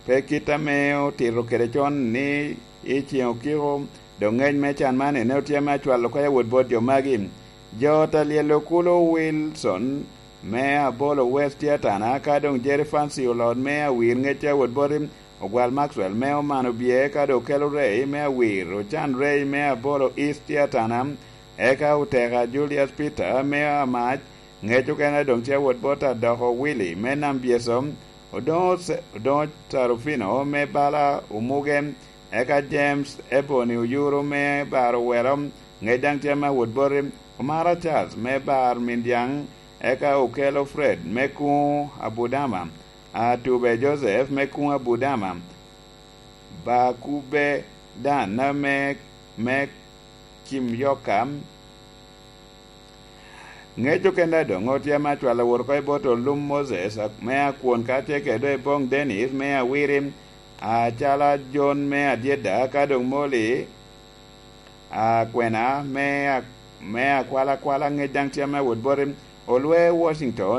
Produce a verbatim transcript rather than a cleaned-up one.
Pe kit ame otito kede con ni i ceŋ okiko, dok ŋec me can man ene otye ame acwalo oko i awot bot jo magi. Jo ta lyel okulo Wilson me Abolo West tye atana, ka doŋ Jerry Fancy olot me awir ŋec awot boti, Ogwal Maxwell me Oman Obye, ka doŋ Okelo Ray me awir, Ocan Ray me Abolo East tye atana, eka Oteka Julius Peter me Amac, ŋec okene doŋ tye awot bot Adoko Willy me Nam Byeso, Odoŋo Se-, Odoŋo Tarufino me bala Omuge, eka James Ebony Oyuru me bar Owelo, ŋec daŋ tye me awot boti, Omara Charles me bar Mindiaŋ, eka Okelo Fred me kuŋ Abudama, Atube Joseph me kuŋ Abudama, Bakube Dan me, me Kimyoka, ŋec okene doŋ otye ame acwalo wot oko i bot Olum Moses, a-, me Akwon, ka tye kede doŋ i Boŋ Dennis me Awiri, Acala Jon me Adyeda, ka doŋ Moli, Akwena me a-, me Akwalakwala, ŋec daŋ tye ame awot boti, Olwe Washington.